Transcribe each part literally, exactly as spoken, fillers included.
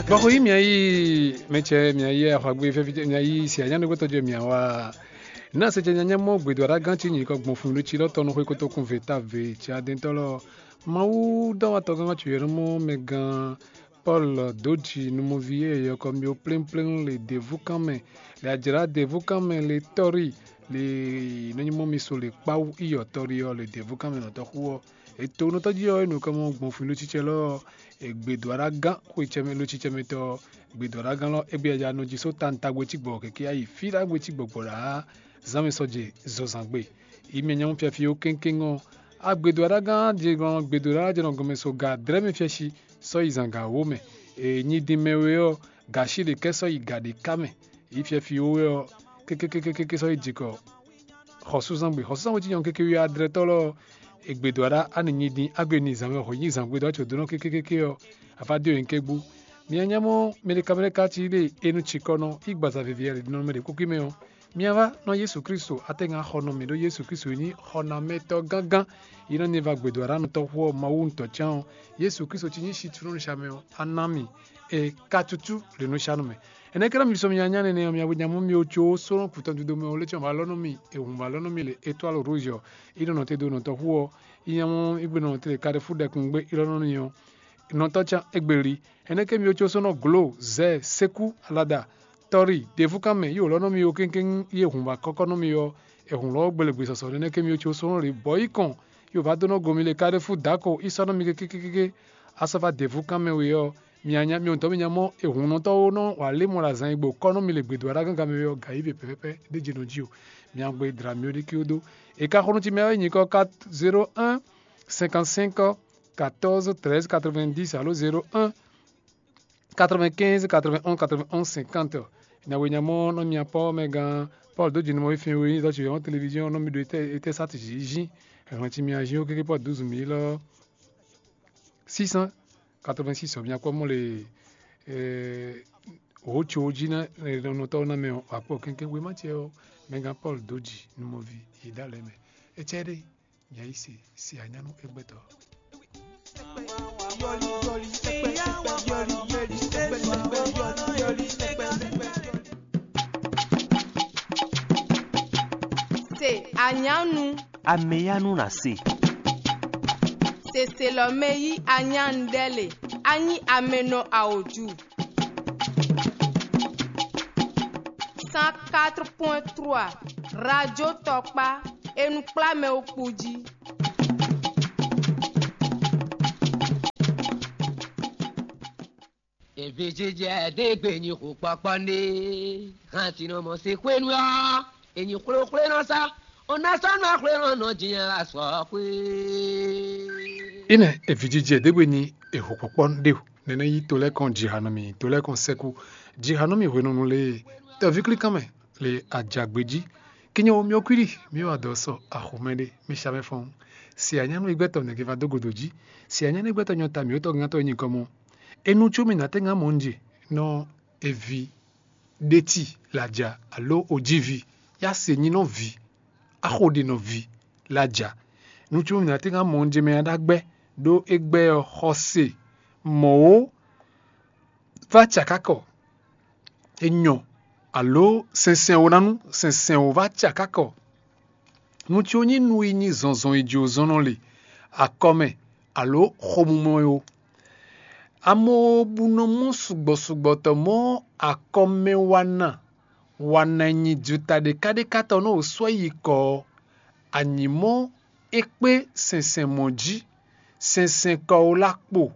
Bɔ xo yí mia yí mɛ cɛ mia yí ahwagbe fɛ́fí mia yí si anyánugbɛtɔ́ jɛ mia wá. Ná se jɛ nyanya mɔ gbědó aɖá gán ce nyǐkɔ gbɔn fun ɖó ci lɔ tɔn nɔ xwé kótókun ve ta ve ci adɛntɔ́ lɔ. Mawu dɔwatɔ gángan ci yɔ̌nɔmɔ mɛ gán Paul dó ji nú mɔví e yɔkɔ mì ó plémplém le děvúkánmɛ, le ajlǎ děvúkánmɛ, le tɔ́rí, le nɔ́ nyí mɔ mi so le kpáwú iyɔ tɔ́rí ɔ́ le děvúkánmɛ nɔtɔ́ xú ɔ́. Ètò nɔtɔ́ jí ɔ́, é nǔ kɔ mɔ gbɔn fun lócícɛ lɔ ɔ́, è gbě dó aɖá gán xwecɛmɛ lócícɛmɛtɔ́ ɔ́, gbě dó aɖá gán lɔ égbé ya nɔ jí só tantagbe cí gbɔ̌ kɛkɛ́ yi fí ɖagbe cí gbɔ̌gbɔ́ ɖá zánmɛ sɔ́ jɛ zɔzǎngbe. Yi mɛ nyɔ̌nu fiafí ó kéŋkéŋ ɔ́, agbědó aɖá gán jɛ gbɔn gbědó aɖá jɛ nɔ gɔmɛ so ga dlɛ́ mɛ fiɛ́si sɔ́ yi zǎn ga wǒ mɛ. È nyi din mɛ we ɔ́, gǎ sí ɖě kɛ́ sɔ́ yi gǎ ɖé ká mɛ. Yi fiafí ó wɛ ɔ́, kékékékéké sɔ́ yi jǐkɔ xɔsúzangbe xɔsúzangbe cí nyɔ̌nu kéké wi adrɛtɔ́ lɔ ɔ́, è gbě dó aɖá á nǐ nyi din á gbe n'i zǎnmɛ xɔ nyí zǎngbé dó acǒ dó nɔ kékékéké ɔ́, afá dó nyɔ̌nu ké gbú. Mia nyá mɔ mɛɖekamɛɖeka cí ɖe e nɔ cikɔ nɔ yi gbaza veviyɛ ɖe nɔ mɛ ɖě kúkú mɛ ɔ́, mia vá nɔ Jesu Kristo atɛ́ngán xɔ nɔ mì ɖó Jesu Kristo e nyí xɔnamɛtɔ́ gángán yi nɔ ni va gbě dó aɖá nɔtɔ́ xú ɔ́ Mawu ŋutɔ́ cán ɔ́, Jesu Kristo cí nyí situnɔ nɔ sha mɛ ɔ́, a ná mì e ka tútú ɖě nɔ sha nɔ mɛ. Ɛnɛ́ ká ná mi sɔ́ mi nyanya nɛnɛ ɔ́, mia bo nya mɔ mi ó có sɔ́ nɔ kutɔn dodó mɛ ɔ́, lé cɔ́n ba lɔ́ nɔ mi, è hun ba lɔ́ nɔ mi le étoile rouge ɔ́, yi nɔ nɔ te dó nɔtɔn xú ɔ́, yi nya mɔ igbe nɔ te le kaɖefu ɖɛkun gbé yi lɔ́ nɔ ni ɔ́, nɔtɔ́ can égbé li. Ɛnɛ́ ké mi ó có sɔ́ nɔ glo, zɛ, sékú, alada, tɔ́ri, ɖěvúkánmɛ, yi wǒ lɔ́ nɔ mi ó kéŋkéŋ yi è hun ba kɔ́kɔ́ nɔ mi ɔ́, è hun lɔ́ gbelegbesɔsɔ nɛnɛ́ ké mi ó có sɔ́ nɔ le bɔ̌ yi kɔn, yi wǒ ba dó nɔ go mi le kaɖefu dǎko yi sɔ́ nɔ mi kékékéké. A sɔ́ va ɖěvúkánmɛ we ɔ́, mi nya mi ɔ́ mi nya mɔ è hunnɔtɔ́ ó nɔ wa lé mɔ ɖo azǎn e gbo kɔ́ nú mi le gbědó aɖá gángan mɛ ɔ́, gǎ yí vě pɛ́pɛ́pɛ́ ɖé jɛ nɔ jí o. Mi agbo e dla mi ó ɖi kí ó dó. È ka xo nú ci mɛ ɔ́ nyǐkɔ kat zéro un cinquante cinq quatorze treize quatre-vingt-dix alo zéro un quatre-vingt-quinze quatre-vingt-onze quatre-vingt-onze cinquante. Nya we nya mɔ nɔ mi apɔ mɛ gán Paul dó jǐnú mɔ fín we nyí zɔ́ ci yɔ́n télévision nɔ mi ɖo étɛ́ sá ti jí jí. Hɛn ci mi ají ó kéké Paul douze mille six cent quatre-vingt-six ɔ, mi akpɔ mɔ le wǒ tso jí ná nɔtɔ́ ná mɛ ɔ́, akpɔ kɛnkɛn wema ce ɔ́, mɛgán Paul dó jǐ numɔví yi dó alɛ mɛ. Ecɛ́ ɖé, nya yi se se anyánú égbɛ́tɔ́. Se anyánu. Ameyanu na se. Seselɔmɛ yí anyánu ɖɛ le. Anyi amɛnɔ awoju. Cent quatre point trois, Radio Tɔkpa, e nɔ kplá mɛ wo kpo jí. Evi jijɛ ɖe gbe nyi xu kpɔkpɔ nɖe, hàn sinɔ mɔ se xwenu ɔ́, enyi xwlexwle nɔ sa, o na sɔ́ nɔ xwle nɔ nɔ jinya la sɔ xwé. Ine evi jijɛ ɖe gbe nyi eho kpɔkpɔ nɖe o, nɛnɛ yi to lɛ́ kɔn jiha nɔ mi, to lɛ́ kɔn sɛkú jiha nɔ mi hwenɔnu lée, tɔví klíkan mɛ le ajagbe jí. Kinyo mi okwíɖi mi wa dɔ sɔ axomɛ ɖé mi sa mɛ fɔ́n. Si anyánu igbɛtɔ nɛgɛ va dó godo jí. Si anyánu igbɛtɔ nyɔ ta mi wótɔ gán tɔ nyí kɔ mɔ. Enu có mi nǎ tɛ́ ŋá mɔ un je nɔ evi ɖéti laja alo ojívi yá se nyí nɔ vi axo ɖe nɔ vi laja. Nu có mi nǎ tɛ́ ŋá mɔ un je mɛ aɖágbɛ́ ɖó égbɛ́ ɔ́ xɔse mɔ̌ ó. Vá cakakɔ enyɔ alo sɛnsɛn wǒ ná nú sɛnsɛn wǒ vá cakakɔ. Nu có nyí nu yi nyi zɔnzɔn yi jǒ zɔn nɔ le akɔmɛ alo xomumɔ ó. Amobu nɔ mɔ sugbɔ sugbɔ tɔ mɔ akɔmɛ wana wana nyi juta ɖeka ɖeka tɔ nɔ wǒ sɔ́ yi kɔ ɔ́, anyǐmɔ é kpé sɛnsɛn mɔ̌ jí, sɛnsɛn kɔ wó lá kpo,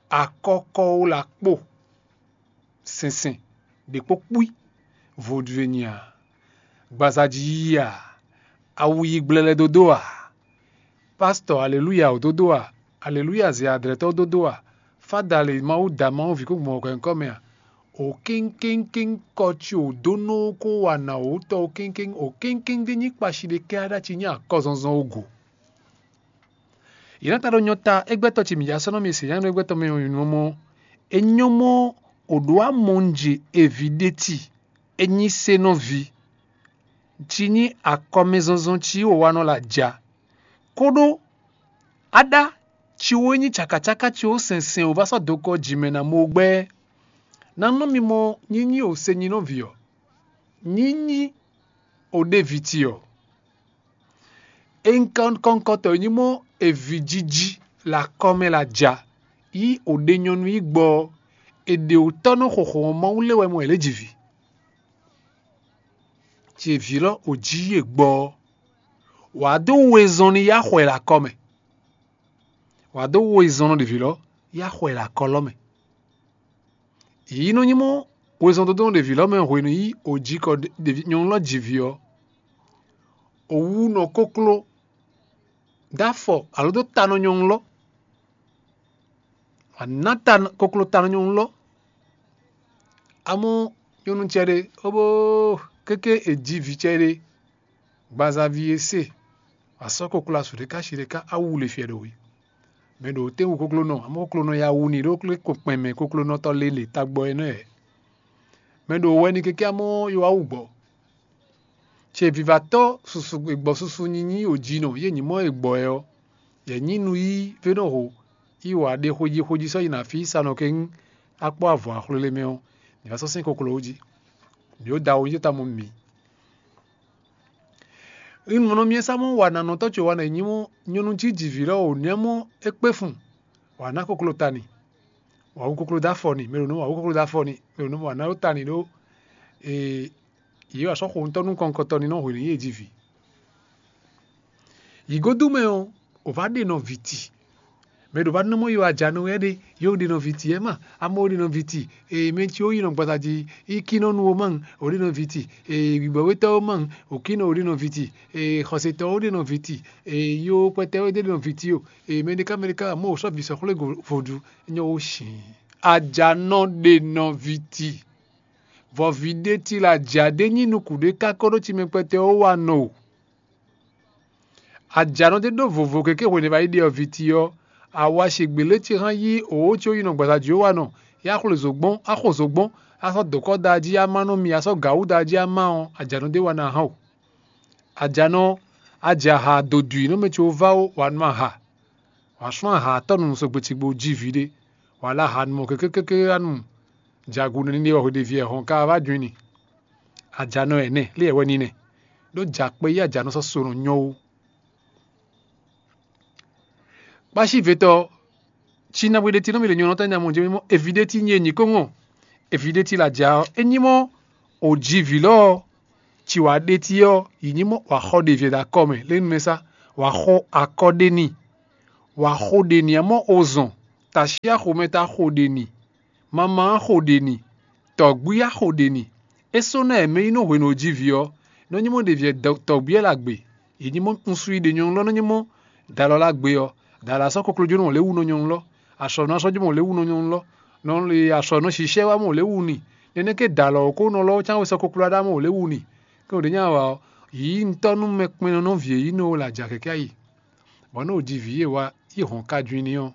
akɔ kɔ wó lá kpo. Sɛnsɛn ɖě kpó kpí vodúnwe nyi a? Gbaza jí yí a? Awu yi gblɛlɛ dó dó a? Pastɔ aleluya wǒ dó dó a? Aleluya zɛ adlɛ̌tɔ́ dó dó a? Fáda le Mawu da Mawu ví kó gbɔn hwɛ̌nkɔ́ mɛ a? O kéŋkéŋkéŋ kɔ ci wǒ dó nɔ kó wa nǎ wǒ tɔ o kéŋkéŋ o kéŋkéŋ ɖé nyí kpashi ɖé kɛ́ aɖá ci nyí akɔzɔnzɔn o go. Yě ná ta ɖo nyɔ ta égbɛ́tɔ́ ce mǐ já sɔ́ nɔ mi se nyánú égbɛ́tɔ́ mɛ ɔ́ nyɔ́mɔ́. É nyɔ́mɔ́ o ɖǒ amɔnje evi ɖé ti, é nyí se nɔ vi, ci nyí akɔmɛzɔnzɔn ci wǒ wa nɔ la ja. Kóɖó aɖá ci wǒ nyí cakacáká ci wǒ sɛnsɛn wǒ vá sɔ́ dokɔ jǐmɛ ná mɔ gbɛ́. Ná nɔ mi mɔ nyínyí o se nyi nɔ vǐ ɔ́, nyínyí o ɖe vǐ ce ɔ́. Ényí kɔ́nkɔ́ntɔ́ nyí mɔ è vǐ jiji le akɔ́ mɛ le aja, yí o ɖe nyɔ̌nu yí gbɔ ɔ́, è ɖe wǔtɔ́ nɔ xɔxɔ́ ɔ́ Mawu lé wɛ mɔ è lě ji vǐ. Ce vǐ lɔ o jí yí è gbɔ ɔ́, wǎ dó wezɔn ní yá xɔ ɛ le akɔ́ mɛ. Wǎ dó wezɔn nɔ ɖě vǐ lɔ yá xɔ ɛ le akɔ́ lɔ mɛ. Yǐ nɔ nyí mɔ wezɔn dodó nɔ ɖě vǐ lɔ mɛ hwenu yí o jí kɔ ɖě nyɔ̌nu lɔ ji vǐ ɔ́, o wú nɔ kókló dó afɔ alo dó ta nɔ nyɔ̌nu lɔ. Wǎ ná ta kókló ta nɔ nyɔ̌nu lɔ. Amɔ̌ nyɔ̌nu cɛ ɖé, ó bó kéké è ji vǐ cɛ ɖé, gbazaví e se, wǎ sɔ́ kókló asu ɖé ká shi ɖé ká awu le fiɛ ɖo we. Mɛ ɖo tɛ́nwu koklónɔ, amɔ̌ koklónɔ ya wu ni ɖó kpɛn mɛ koklónɔtɔ́ lélè tagbɔ é nɔ ɛ. Mɛ ɖo wɛ ni kéké amɔ̌ yɔ wá wú gbɔ. Ce vivatɔ́ susu gbɔ susu nyinyi o ji nɔ yé nyí mɔ e gbɔ ɛ ɔ́, yɛ nyí nu yí vénɔ ho yí wǎ ɖe xwejí xwejí sɔ́ yi nɔ afí sa nɔ kɛ́n akpɔ́ avɔ axwlélé mɛ ɔ́, nyǐ vá sɔ́ sín koklo wú jí. Mǐ ó da wo nyí ta mɔ mǐ. Un mɔ nɔ myɛ sá mɔ wa nanɔtɔ́ ce wa nɔ nyí mɔ nyɔnu cí jivǐ lɔ o nɛ́ mɔ é kpé fun, wǎ ná koklo ta ni, wǎ wú koklo dó afɔ ni, mɛ ɖo nɔ wǎ wú koklo dó afɔ ni, mɛ ɖo nɔ wǎ ná ɖó ta ni ɖó ee yě wǎ sɔ́ xo ŋutɔ́ nú kɔnkɔtɔ ni nɔ hwenu yě ji vǐ. Yǐ godu mɛ ɔ́, o vǎ ɖe nɔ vǐ ti. Mɛ ɖo vǎ nɔ mɔ yɔ ajanɔ wɛ ɖe, yɔ ɖe nɔ vǐ ti ɛ ma, amɔ ɖe nɔ vǐ ti, ee mɛ ci ó yi nɔ gbata jí, í kí nɔ nu ó ma, o ɖe nɔ vǐ ti, ee wǐbɔwétɔ́ ó ma, o kí nɔ o ɖe nɔ vǐ ti, ee xɔsetɔ ó ɖe nɔ vǐ ti, ee yó kpɛtɛ ó ɖe nɔ vǐ ti o, ee mɛɖeká mɛɖeká amɔ o sɔ́ vǐ sɔ́ xwlé vodú, nyɔ ó sin. Ajanɔ ɖe nɔ vǐ ti. Vɔ vǐ ɖé ti la jǎ ɖé nyí nukún ɖé ká kó ɖó ci mɛ kpɛtɛ ó wa nɔ o. Ajǎnɔ ɖé ɖó vovo keke hwenu e va yi ɖe ɔ́ viti ɔ́, awa ṣègbè lě ce hán yí òwò ce ó yi nɔ gbasa jǐ ó wa nɔ, yá xwle zǒgbɔ́n, á xo zǒgbɔ́n, á sɔ́ dǒkɔ́ da jí á má nú mi, á sɔ́ gǎwú da jí á má ɔ́, ajǎnɔ ɖé wa ná hán o. Ajǎnɔ, a jɛ aha dodwi nú mɛ ce ó vá ó, wǎ nú aha. Wǎ sú aha atɔ́ nu sɔgbe cigbo jí vǐ ɖé, wǎ lɛ́ aha nu mɔ kékékéké wá nu jagun nɛ́ ní ɖe wɛ hweɖeví ɛ hɔn ka wá jɔin ni. Ajǎnɔ ɛnɛ lé wɛ ní nɛ, ɖó jǎkpé yí ajǎnɔ sɔ́ so nɔ nyɔ́ ó. Kpácívetɔ, cí ná bwé ɖé tí nɔ́ mì ɖe nyɔ̌nɔ́ tɔn nya mɔ jɛ mì mɔ eví ɖé tí nyí e nyǐ kó ŋɔ. Eví ɖé tí la ja ɔ́, é nyí mɔ o ji vǐ lɔ ɔ́, ci wǎ ɖé tí ɔ́, yi nyí mɔ wǎ xɔ ɖe vǐ ɛ ɖo akɔ mɛ lé nu mɛ sá, wǎ xɔ akɔ ɖé n'i, wǎ xo ɖe n'i amɔ o zɔn, tashi axomɛ ta xo ɖe n'i, mama xo ɖe n'i, tɔ̌gbí axo ɖe n'i. É sɔ́ ná ɛmɛ yi nɔ hwenu o ji vǐ ɔ́, nɔ nyí mɔ ɖevi ɛ tɔ̌gbí ɛ la gbe. Yi nyí mɔ nusú yi ɖe nyɔ̌nu lɔ nɔ nyí mɔ dalɔ la gbe ɔ́, dalɔ asɔ́ koklójónɔ mɔ lě wu nɔ nyɔ̌nu lɔ, asɔ̌nɔ asɔ́ jó mɔ lě wu nɔ nyɔ̌nu lɔ, nɔ asɔ̌nɔ sishɛ wá mɔ lě wu ni. Nɛnɛ́ ké dalɔ kó nɔ lɔ cán wɛ sɔ́ kokló ɖá mɔ lě wu ni. Kɛ́n ɖě nya wa ɔ́, yǐ ŋutɔ́ nú mɛ kpɛnnɔ nɔ vǐ e yí nɔ la ja kɛkɛ́ ayi. Bɔ nú o ji vǐ e wa yi hɔn ka ju i ní ɔ́,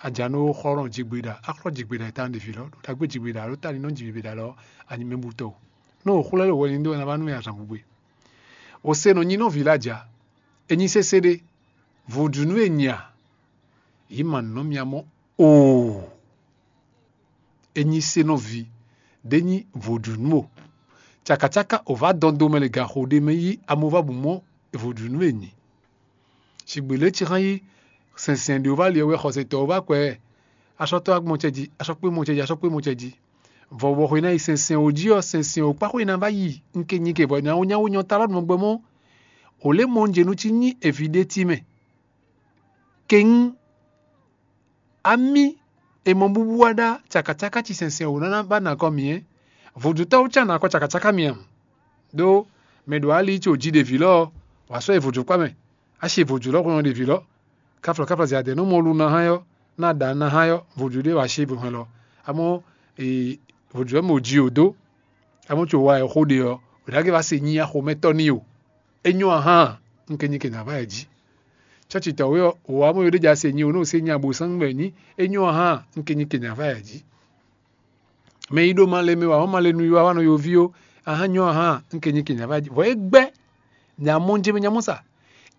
a ja nú ó xɔ́ nɔ jigbeɖa, á xlɔ́ jigbeɖa e ta nú ɖevi lɔ, ɖo ɖagbe jigbeɖa, ɖo ta ní nɔ jigbeɖa lɔ, a nyi mɛ butɔ o. Nú o xwlɛ́ ɖo hwɛ ní ɖó ná vá nú mɛ azǎn gbe. O se nɔ nyi nɔ vǐ lɔ aja, e nyi sésé ɖé, vodúnú e nyi a? Yǐ ma nɔ mia mɔ oo. E nyi se nɔ vǐ, ɖé nyi vodúnú o. Cakacáká o vǎ dɔn do mɛ le gaxo ɖé mɛ yí amova bǔ mɔ vodúnú e nyi. Sigbè lě cixán yí sɛnsɛn ɖě wú vá li ɔ́ wɛ xɔsetɔ́ wú vá kwɛ ɛ. Asɔtɔ́ wá gbɔn cɛ jí, asɔkpé mɔ cɛ jí, asɔkpé mɔ cɛ jí. Vɔ wɔ xwe ná yi sɛnsɛn wǒ jí ɔ́, sɛnsɛn wǒ kpá xwe ná vá yi. Un ke nyi ke vɔ nyawó nyawó nyɔ talá nɔ gbɛ mɔ. Ò lě mɔ un jɛ nú cí nyí evi ɖé tí mɛ. Kɛ́n amí e mɔ búbú wá ɖá cakacáká ci sɛnsɛn wǒ ná ná ba nɔ akɔ mǐ ɛ. Vodútɔ́ wú cá nɔ akɔ cakacáká mǐ ǎ. Ɖó mɛ ɖo ali ce ò ji ɖevi lɔ ɔ́, wǎ sɔ́ yi vodúkpá mɛ. A ṣe vodú lɔ hwɛ́n ɖevi lɔ. Káflɔ káflɔ zɛ adɛ nú mɔ lu ná hán yɔ, ná ɖa ná hán yɔ, vodú ɖé wǎ ṣe hwɛn lɔ. Amɔ́ vodú ɔ́ mɛ ò ji ò dó. Amɔ́ co wa ɛ xó ɖe ɔ́, ò ɖǎ gé wá se nyí axomɛtɔ́ n'i o. É nyɔ́ a hán, un ke nyi ke nǎ vá ɛ jí. Cɔ́ci tɔn wé ɔ́, wǒ wá mɔ yó ɖé ja se nyi o nú ò se nyi abo sán gbɛ nyí, é nyɔ́ a hán, un ke nyi ke nǎ vá ɛ jí. Mɛ yi ɖo malɛ mɛ wǎ mɔ malɛ nu yi wá wá nɔ yoví ó, a hán nyɔ́ a hán, un ke nyi ke nǎ vá ɛ jí. Vɔ é gbɛ́ nya mɔ jɛ mɛ nya mɔ sa.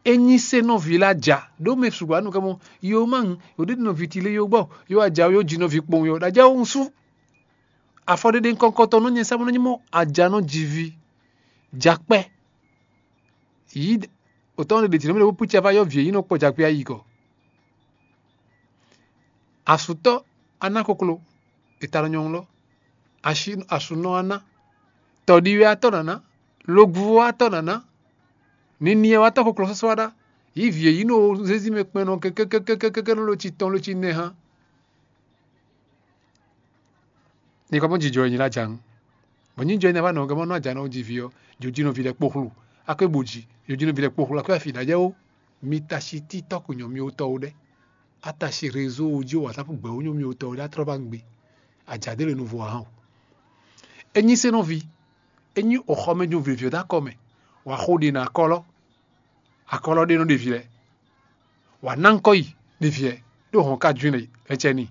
É nyi se nɔví la ja, ɖó mɛ sukpɔ anu kɛ mɔ, yo ma ŋu, yo ɖé nɔ vi ti lé yo gbɔ, yo a ja yo ji nɔví kpɔn yo, ɖa ja wo ŋu sú. Afɔɖeɖe kɔnkɔtɔn nɔ nyɛ sá bó nɔ nyí mɔ ajanɔ jiví jakpɛ yí òtɔn ɖe ɖe jǐnɔ mɛ ɖo púcɛ va yɔ vǐ e nyí nɔ kpɔ jakpɛ ayi kɔ. Asutɔ aná koklo, e ta nɔ nyɔ́ lɔ, asunɔ aná, tɔɖiwɛ atɔ́ nǎná, logbuvo atɔ́ nǎná, niniɛ watɔ́ koklo sɔ́sɔ́ aɖá, yí vǐ e nyí nɔ zézí mɛ kpɛn nɔ kɛkɛkɛkɛkɛ nɔ lo ci tɔn lo ci nɛ hán. Nyɛ ka mɔ jijɔ e nyi ɖo aja nu. Bɔ nyijɔ e nyi ɖo aja nɔ gɛmɔ nɔ aja nɔ ji vi ɔ, jojinɔ vi lɛ kpoxlu, akwe bo ji, jojinɔ vi lɛ kpoxlu, akwe afi ɖajɛ wo. Mi ta si ti tɔ́ ko nyɔ mi wotɔ wo ɖɛ. A ta si réseau ji o, WhatsApp gbɛ wo nyɔ mi wotɔ wo ɖɛ, a trɔ ba gbe. Aja ɖe le nu vo a hàn o. E nyi se nɔ vi, e nyi o xɔ mɛ jo vivyo ɖe akɔ mɛ, wa xo ɖi na akɔlɔ, akɔlɔ ɖe nɔ ɖe vi lɛ. Wa ná ŋkɔ yi ɖe vi lɛ, ɖo hɔn ka ju lɛ cɛ ni.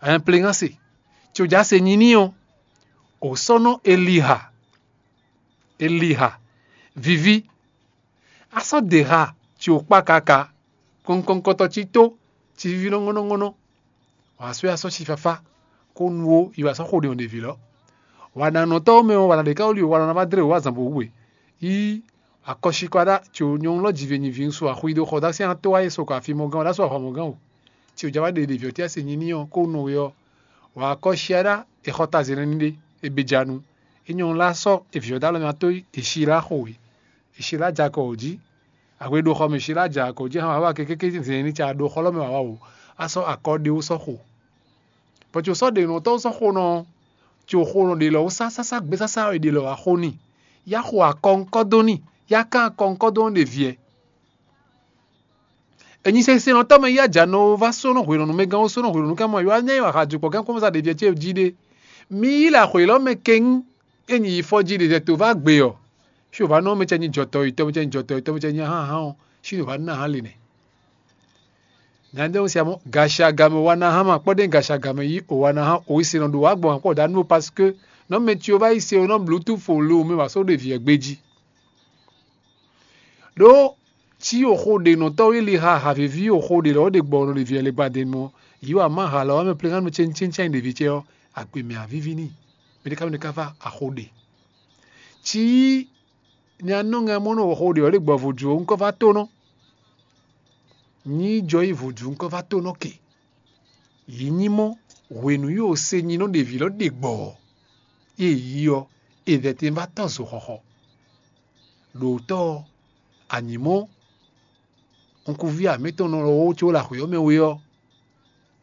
Ɛn pleŋase, tso ja se nyi ní ɔ́, o sɔ́ nɔ Eliha, Eliha, viví. A sɔ́ de ha ci wǒ kpa kaka, kɔnkɔnkɔtɔ ci tó, ci víví nɔ́ ŋɔ́nɔ́ ŋɔ́nɔ́. Wǎ sɔ́ a sɔ́ ci fafá, kó nu ó, yi wǎ sɔ́ xo ɖě ɔ́ ɖě ví lɔ. Wǎ ná nɔ tɔ́ mɛ ɔ́, wǎ ná ɖě ká wú li wǎ ná vá dlé wǎ zǎn bó hu we. Yí akɔ́síkɔ́ ɖá, tso nyɔ̌nu lɔ jiví nyi vǐ ŋsu axwi ɖo xɔ dá sín ató wá yi sokɔ afi mɔgán wǒ, ɖá só axɔ mɔgán wǒ. Tso ja wá ɖe ɖevi ɔ́ tí a se nyi ní ɔ́, kó nɔ we ɔ́, wǎ akɔ́sí ɖá, è xɔ ta zɛ̌nɛ́ ní ɖé, è bě ja nu. É nyɔ́ lá sɔ́ è vǐ ɔ́ dó alɔ mɛ ató yi, è sí lá xo wě. È sí lá ja kɔ wǒ jí. Ahwe ɖo xɔ mɛ, è sí lá ja kɔ wǒ jí, hán wǎ wá kékéké zɛ̌nɛ́ ní ca ɖo xɔ lɔ mɛ wǎ wá wǒ. A sɔ́ akɔ ɖé wó sɔ́ xo. Bɔ tso sɔ́ ɖě nɔ tɔ́ sɔ́ xo nɔ, tso xo nɔ ɖě lɔ wó sásásá gbé sásá è ɖě lɔ wá xo n'i. Yá xo akɔ ŋkɔ dó n'i, yá kán akɔ ŋkɔ dó nɔ ɖe viɛ. Enyi sɛsɛnɔtɔ́ mɛ yá jǎ nɔ va sónɔ hwelɔnú mɛ gán ó sónɔ hwelɔnú ká mɔ yɔ anyá yi wǎ xa jukpɔ gán kɔ́mɔ́sá ɖevi ɔ́ ce jí ɖe. Mi yí lɛ axwě lɔ mɛ kɛ́ŋ, é nyi yi fɔ jí ɖe zɛ tó va gbe ɔ́, xí wǒ va nɔ mɛ cɛ nyi jɔtɔ́ yi tɔ́ mɛ cɛ nyi jɔtɔ́ yi tɔ́ mɛ cɛ nyi ahan ahan ɔ́, xí wǒ va ná ahan le nɛ́. Nyadéwun sia mɔ gashi agamɛ wa ná hán ma kpɔ́ ɖe gashi agamɛ yí o wa ná hán o yi se nɔ ɖo wá gbɔn akpɔ da nú o parce que nɔ mɛ tyo va yi se o nɔ bluetooth o lo mɛ wá só ɖe viɛ gbé jí. Ɖó cí o xo ɖe nɔ tɔ́ wí li ha haviví o xo ɖe lɔ ɖe gbɔ nɔ ɖe viɛ le gbadenu ɔ́, yí wa má ha lɔ wá mɛ plegan nɔ cɛn cɛn cɛn ɖevi cɛ ɔ́, agbe mɛ avíví n'i. Mɛ ɖé ká mɛ ɖé ká va axo ɖe. Cí nya nɔ ŋɛ mɔ nɔ o xo ɖe ɔ́ ɖe gbɔ vodzu ɔ́ ŋkɔ va tónɔ. Nyí jɔ yi vodzu ŋkɔ va tónɔ ke. Yí nyí mɔ hwenu yi o se nyi nɔ ɖevi lɔ ɖe gbɔ ɔ́, e yí ɔ́, e vɛtɛn va tɔ́ zo xɔxɔ. Ɖo tɔ́ ɔ́, anyǐ mɔ nukúnví amǐtɔn nɔ lɔ wó có le axwě ɔ́ mɛ we ɔ́,